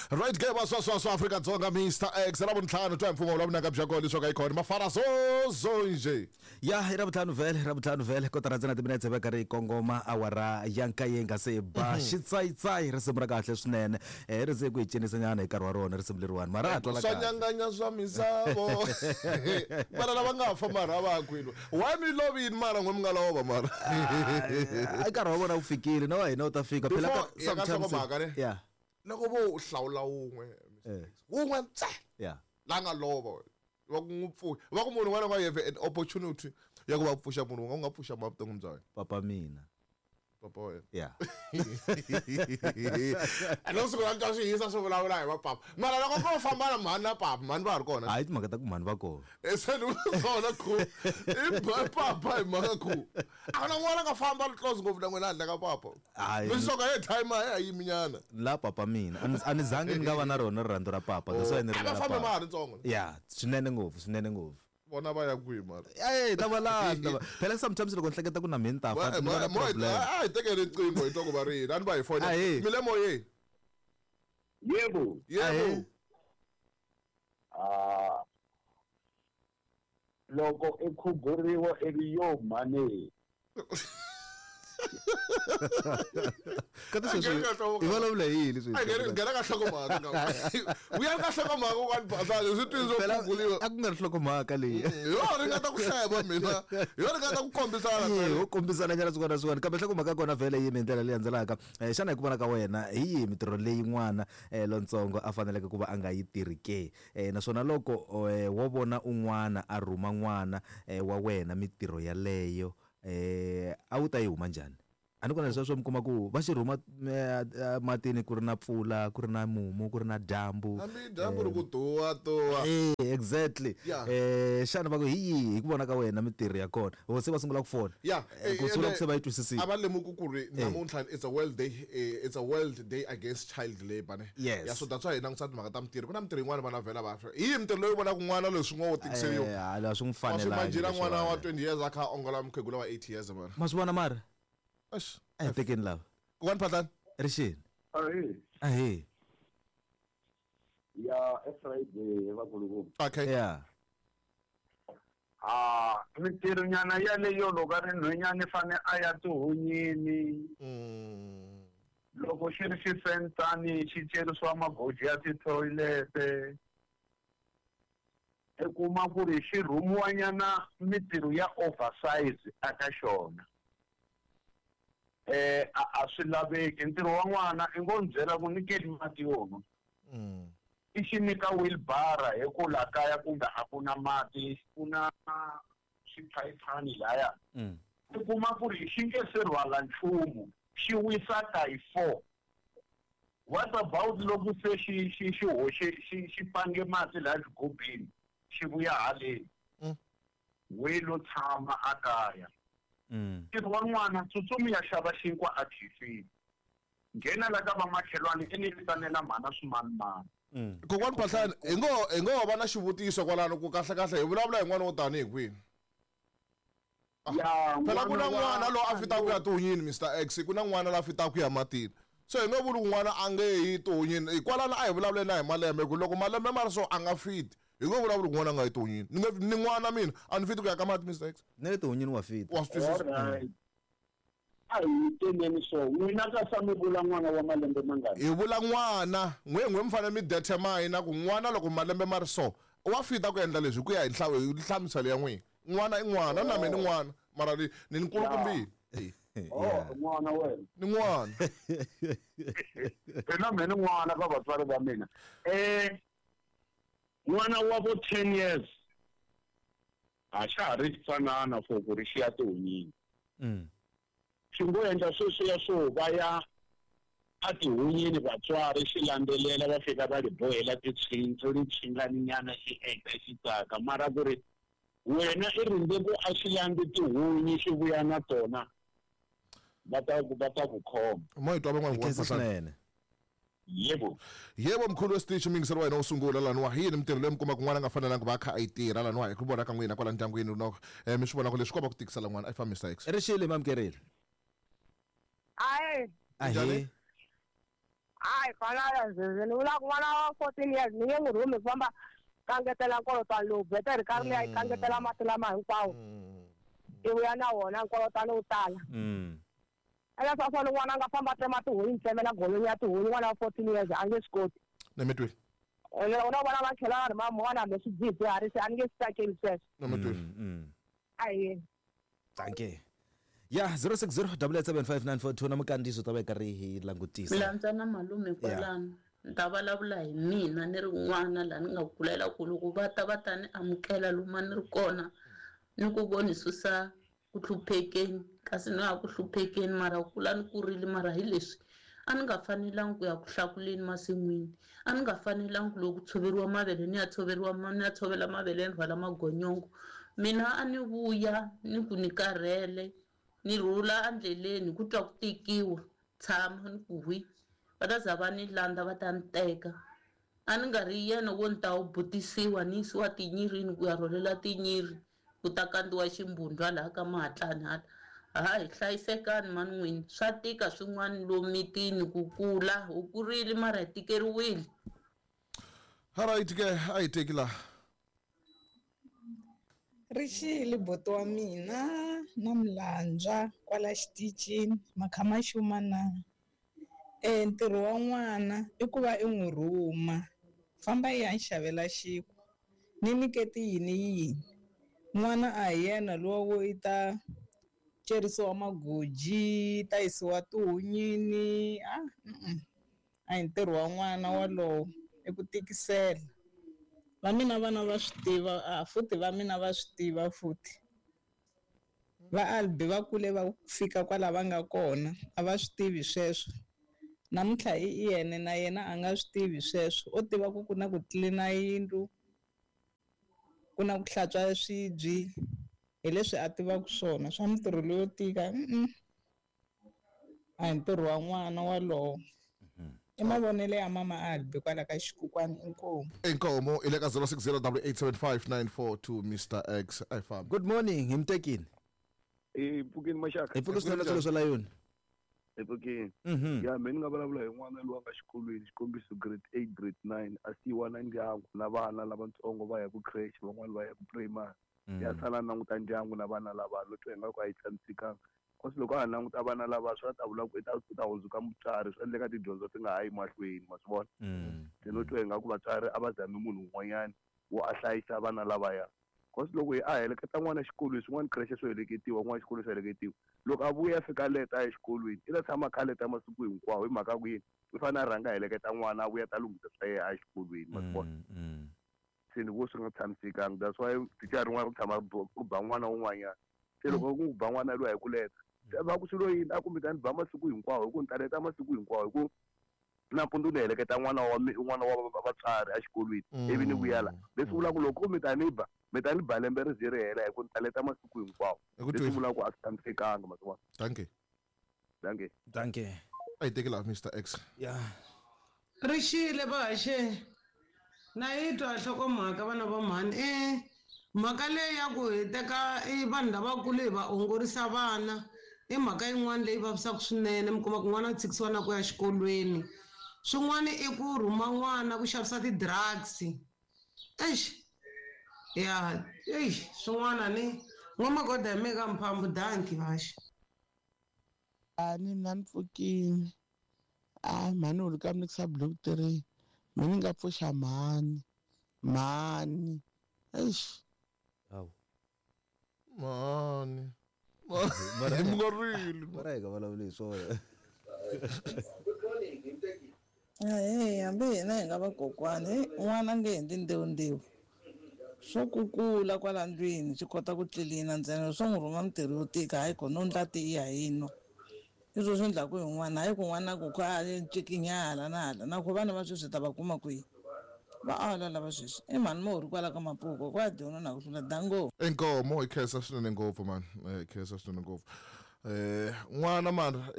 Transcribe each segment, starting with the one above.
Right ke vaswaswaswa Afrika-Dzonga Mr X Ravuntlhanu twa hi mpfumawulo wa vunanga bya kona leswaku a yi khona mafara zozo nje. Ya i Ravuntlhanu vhele, Ravuntlhanu vhele kotara ntsena timinetse va karhi yi kongoma awara ya nkaye yi nga se ba. Xitsayitsayi risimu ra kahle swinene. Eh ri ze ku hi cinisa nyana hi nkarhi wa rona risimu leriwani mara a twala Swa kahle. nyanganya swa misavo. Mara lava nga fa mara a va ha kwini. Why mi lovini mara n'we mi nga lova mara. A nkarhi wa vona wu fikile na wa hina wu ta fika phela Before ka ya ka sometimes nhlokomhaka ne. yeah Loko vo u hlawula wun'we Eh. wun'we ntsena yeah la nga lova va ku n'wi pfuxa va ku munhu un'wana na un'wana you have an opportunity ya ku va pfuxa munhu un'we u nga pfuxa ma vuton'wini bya wena papa mina papa wa wena yeah a no siku ra twa swi hisa swi vulavula hi vapapa mara loko ko famba na mhani na papa mhani va ha ri kona hayi timhaka ta ku mhani va kona se ni swona ku i papa hi mhaka ku a ku na n'wana nga famba ri close ngopfu na n'wina handle ka papa Hayi. mi soka ye time a yi yiminyana la papa mina a ni zangi ni nga va na rona rirhandzu ra papa that's why ni a va rilela fambe ma papa ha ri ntsongo ya swinene ngopfu swinene ngopfu vona va ya kwihi mara Ey, ta va landza phela sometimes loko ni hleketa ku na mina ni ta fa ni va na problem a hi tekeni riqingho hi twa ku va ri yini a ni va hi fonela Ahee. mi le moyeni Yebo. yebo Ahee. Ah. Loko i khuguriwa i ri yo mhani. Kati sweswi Angeni ka nhloko- hi vulavula hi yini sweswi? A nghena ka nhlokomhaka vuya ka nhlokomhaka kwani basani swi twini swo Phela, khuguriwa a ku nga ri nhlokomhaka leyi yo ringeta ku hleva mina yo ringeta ku kombisana Eh, ho kombisana nyana swin'wana na swin'wana kambe nhlokomhaka ya kona vhele yimi hi ndlela leyi landzelaka. Xana hi ku vona ka wena hi yihi mitirho leyi n'wana lontsongo a faneleke ku va a nga yi tirhi ke? Naswona loko wo vona un'wana a rhuma n'wana wa wena mitirho yaleyo a wu ta yi huma njhani? A ni ku na leswiya swo mi kuma ku va xi rhuma matini ku ri na mpfula ku ri na mumu ku ri na dyambu hambi dyambu ri ku tuwa tuwa Eh, exactly. Yeah. Xana va ku hi yihi hi ku vona ka wena mitirho ya kona? Ho se va sungula ku fona. ya Ku sungula ku se va yi twisisile. a va lemuki ku ri namuntlha it's a world day it's a world day against child labor ne Yes. ya so that's why hi langutisa timhaka ta mitirho ku na mitirho yin'wana vana vhela va hi yihi mitirho leyi vonaka n'wana leswi ngo tikiseriwa Hala swi n'wi wa swi fanelangi imagine n'wana wa leswiwani. 20 years a kha a ongola mukhegula wa 8 years mara Ma swi vona mara? Eish. A hi tekeni lava. Kokwana Phatlani Rixini. Ahee. Ahee. Ya e Friday vakulukumba. okay Yeah. Ah, mitirho nyana yaleyo loko a ri nhwenyana i fane a ya tihunyini. Loko xi ri xifensani xi cerisiwa magoji ya tithoyilete. I kuma ku ri xi rhumiwa nyana mitirho ya oversize aka xona. A swi laveki ntirho wa n'wana i ngo ni byela ku nyikeni mati yo nwa. I xi nyika wheelbarrow hi ku la kaya kumbe a ku na mati ku na swiphayiphani laya. I kuma ku ri xi nge se rhwala nchumu xi wisa ka hi 4. What about loko se xi xi xi hoxe xi xi pange mati laha xigubini xi vuya haleni. We lo tshama a kaya. Ntirho wa n'wana tsutsumi ya xava xinkwa a khefini. Nghena la ka vamakhelwani i ni vitanela mhana swimanimani. Kokwana Phatlani hi ngo va na xivutiso kwalano ku kahle kahle hi vulavula hi n'wana wo tani hi kwini Ya, phela ku na n'wana wa n'wana loyi a fitaka ku ya tihunyini Mr X ku na n'wana loyi a fitaka ku ya matini so hi nge vuli ku n'wana a nge yi tihunyini hikwalano a hi vulavule na hi malembe ku loko malembe ma ri so a nga fiti hi nge vulavuli ku n'wana a nga yi tihunyini ni nge ni n'wana mina a ni fiti ku ya ka mati Mr X Ni le tihunyini wa fita. wa swi twisisa Alright. A hi teneni so n'wina ka sa mi vula n'wana wa malembe mangani? Hi vula n'wana n'we n'we mi fanele mi determine ku n'wana loko malembe ma ri so wa fita ku endla leswi hi ku ya hi hi nhlamuselo ya n'wina n'wana i n'wana na mina ni n'wana mara ni nkulukumbile. Oh, n'wana wena. Ni n'wana. Mina me ni n'wana ka vatswari va mina. N'wana wa vo 10 years a xa ha ri xitsanana for ku ri xi ya tihunyini. Xi ngo endla sweswiya swo va ya a tihunyini vatswari xi landzelela va fika va li bohela titshintso li tshingani-nyana xi endla xi tsaka mara ku ri wena i rindze ku a xi landzi tihunyi xi vuya na tona va ta ku va ta ku khoma. Mo hi twa van'wana Hi khensa swinene. Yebo. Yebo mkhulu wesitichi muyingiseri wa hina wo sungula laniwa hi yini mitirho leyi mi kumaka n'wana a nga fanelanga va a kha a yi tirha laniwa hi ku vona ka n'wina kwala ndyangwini no mi swi vonaka leswi komba ku tikisela n'wana a yi fambi Mr X. Rixile mi amukerile. Ahe. Ahee. A A hi fana ni vula ku n'wana wa 14 years ni nge n'wi rhumi ku famba kangetela nkolotwana lowu betere ka ri leyi kangetela mati lama hinkwawo i vuya na wona nkolotwana wu tala. Ene swa swona n'wana a nga famba a tsema tihunyi ntsemela golonyi ya tihunyi n'wana wa 14 years a nge swi koti. Ni mi twile. Ene u na vona va tlhela va ri mama n'wana hambi swidzidziharisi a ni nge swi tsakeli sweswo. Ni mi twile. Ahee. Dankie. Ya 060 875 na mukandziso ta va karhi hi langutisa. Milandza na malume kwalano. Ni ta vulavula hi mina ni ri n'wana laha ni nga kulela ku loko va ta va ta ni amukela lomu a ni ri kona ni ku vo ni susa ku hluphekeni kasi ni ya ku hluphekeni mara ku kula ni kurile mara hi leswi a ni nga fanelangi ku ya ku hlakuleni masin'wini a ni nga fanelangi ku loko ku tshoveriwa mavele ni ya tshoveriwa ni ya tshovela mavele ni rhwala magonyongo mina a ni vuya ni ku ni karhele ni rhula endleleni ku twa ku tikiwa tshama ni ku hwi va ta za va ni landza va ta ni teka a ni nga ri yena wo ni ta wu butisiwa ni yisiwa tinyirini ku ya rhwalela tinyiri ku ta kandziwa ximbundwa laha ka mahatlani hala hayi hlayisekani mani n'wini swa tika swin'wana lomu mitini ku kula u kurile mara hi tikeriwile. Alright ke a hi teki laha. Rixile buti wa mina na Mlandza kwala xitichini makha ma xuma na. Ntirho wa n'wana i ku va i n'wi rhuma famba i ya ni xavela xinkwa ni nyiketi yini yini n'wana a hi yena luwa wo i ta cerisiwa magoji ta yisiwa tihunyini a a hi ntirho wa n'wana walowo i ku tikisela va mina vana va swi tiva a futhi va mina va swi tiva futhi va Albi va kule va fika kwala va nga kona a va swi tivi sweswo namuntlha i yena na yena a nga swi tivi sweswo o tiva ku ku na ku tlilina yindlu ku na ku hlantswa swibyi hi leswi a tivaka swona swa mintirho leyo tika a hi ntirho wa n'wana walowo. I mavonelo ya mama Albi kwala ka xikukwani inkomu. Inkomo i le ka 060 875 Mr X a hi fambi. Good morning hi mutekini. Hi pfukini maxaka. Hi pfuke swinene swilo swa layoni. Hi pfukini. Ya mina ni nga vulavula hi n'wana loyi a nga xikolweni xikombiso grade 8 grade 9 a siyiwa na ndyangu na vana lavatsongo va ya ku creche van'wani va ya ku primary. Ya sala languta ndyangu na vana lava no twa ingaku a yi tshamisekanga. Kasi loko a ha languta vana lava swi ta vula ku i ta hundzuka mutswari swi endleka tidyondzo ti nga ha yi mahlweni ma swi vona. Se no twa ingaku vatswari a va zami munhu un'wanyana wo a hlayisa vana lavaya. Kasi loko hi a heleketa n'wana exikolweni swin'wana creche swo heleketiwa n'wana xikolo swo heleketiwa loko a vuya fika leta exikolweni i ta tshama kha leta masiku hinkwawo hi mhaka ku yini i fanele a rhanga a heleketa n'wana a vuya ta lunghisa swa yena exikolweni ma swi vona. Se ni vo swi nga tshamisekanga that's why thicara rin'wana ri tshama ri ba n'wana wun'wanyana se loko ku ba n'wana loyi hi ku leta se va ku swilo yini a ku mi ta ni ba masiku hinkwawo hi ku ni ta leta masiku hinkwawo hi ku nampundzu ni heleketa n'wana wa n'wana wa vatswari exikolweni ivi ni vuya la leswi vulaka loko mi ta ni ba mi ta ni ba lembe ri ze ri hela hi ku ni ta leta masiku hinkwawo leswi vulaka ku a swi tshamisekanga masiku wana. Dankie. Dankie. Dankie. A hi teki laha Mr X. Ya. Rixile vahaxe na yi twa nhlokomhaka vana va mhani mhaka leyi ya ku hi teka i vanhu lavakulu hi va ongorisa vana i mhaka yin'wana leyi vavisaka swinene mi kuma ku n'wana u tshikisiwa na ku ya xikolweni swin'wana i ku rhuma n'wana ku xavisa ti-drugs eish ya eish swin'wana ni n'wamagoda hi meka mphambu danki vaxe. A ni mina ni pfukile a mhani u ri ka mikisa block 3 mina ni nga pfuxa mhani mhani eish Hawu. Mhani. Mi nga rili. Mara hi nga vulavuli hi swona. Ahee, hambi hina hi nga vakokwani n'wana a nge endli ndewundewu swo kukula kwala ndlwini swi kota ku tlilina ntsena swo n'wi rhuma mintirho yo tika hayi kona u ndla tiya hi nwa i swo swi endlaku hi n'wana hayi ku n'wana ku kha a ncikinya hala na hala na ku vana va sweswi ta va kuma kwihi va ala lava sweswi i mhani mo ri kwala ka mapuko kwa dyona na ku hlula dango. Inkomo hi khensa swinene ngopfu mani hi khensa swinene ngopfu. N'wana mara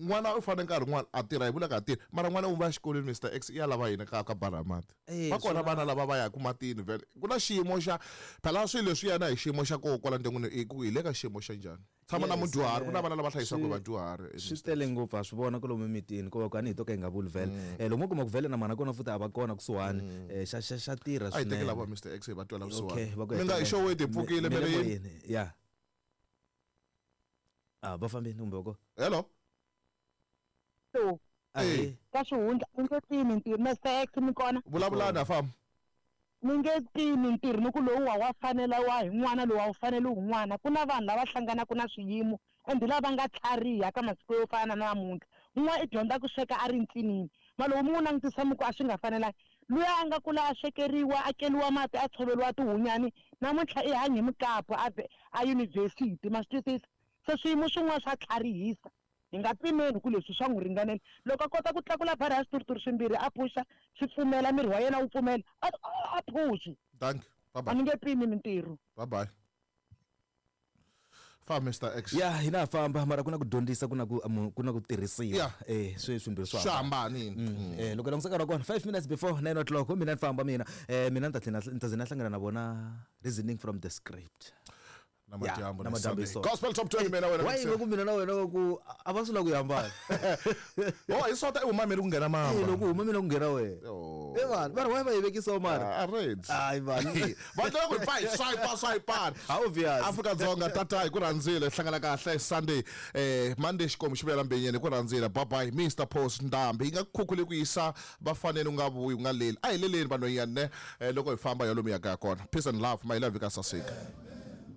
n'wana u fanele nkarhi n'wana a tirha, hi vula ka tirha, mara n'wana u va xikolweni Mr X i ya lava yini ka bara mati. Va kona vana lava va yaka matini vhele, ku na xiyimo xa phela swilo leswi yana hi xiyimo xa koho kwala ndyangwini, i ku hi le ka xiyimo xa njhani. Tshama na mudyuhari, ku na vana lava hlayisiwaka hi vadyuhari. Swi tele ngopfu, ha swi vona kwalomu emitini, ko va ku a ni hi to ka hi nga vuli vhele. Lomu u kuma ku vhele na mhana kona futhi a va kona kusuhani, xa tirha A hi teki swinene. lava Mr X hi va twela Okay, vusiwana. va ku Mi nga hi hetelela. xoweti, hi pfukile, Mi mi le ri yini? moyeni, ya. Ah, va fambini kumbe va kona? Hello. Hello. Ahee. Ka xihundla mi nge pimi ntirho, Mr X mi kona? Vulavulani ha famba. Mi nge pimi ntirho ni ku lowu wa fanela wa hi n'wana, lowu a wu faneli hi n'wana. Ku na vanhu lava hlanganaka na swiyimo and lava nga tlhariha ka masiku yo fana na namuntlha. Un'wana i dyondza ku sweka a ri ntsinini, ma loko mi n'wi langutisa mi ku a swi nga fanelangi. Luya a nga kula a swekeriwa, a keliwa mati, a tshoveriwa tihunyani, namuntlha i hanya hi mukapu a a yunivhesiti, ma swi twisisa? Se swiyimo swin'wana swa tlharihisa. Hi nga pimeli ku leswi swa n'wi ringanela. Loko a kota ku tlakula barha ya swituruturu swimbirhi a phuxa, swi pfumela, miri wa yena wu pfumela, a phuxi. Thank you. Bye-bye. A ni nge pimi mintirho. Bye-bye. Fa Mr X. Ya, hina ha famba, mara ku na ku dyondzisa, ku na ku, ku na ku tirhisiwa. Yeah. Swi swimbirhi swa Swi hambanile. Loko langutisa nkarhi wa kona, 5 minutes before 9 o'clock, mina ni famba mina. Mina ni ta tlhela ni ta ze na hlangana na vona reasoning from the script. Na madyambu na na madyambu Sunday. hi swona. Gospel Top 20 mina wena Why Mixer. loko mina na wena wa ku a va swi lava ku yi hambana? Oh, hi swona i huma mina ku nghena mamba. Eh, loko huma mina ku nghena wena. Oh. Eh, vanhu, va ri why va yi vekisa mara? A reds. Hayi vanhu. Va tlhela ku hi pfa hi swipe, swipe. Obvious. Afrika Dzonga tata hi ku rhandzile, hlangana kahle Sunday, Monday xikomu xi vuyela mbenyeni hi ku rhandzile. Bye bye Mr Post Ndambi. Yi nga khukhuli ku yisa vafanele u nga vuyi u nga leli. A hi leleni vanhwanyana ne, loko hi famba ya lomu ya kaya kona. Peace and love, my love ka saseka.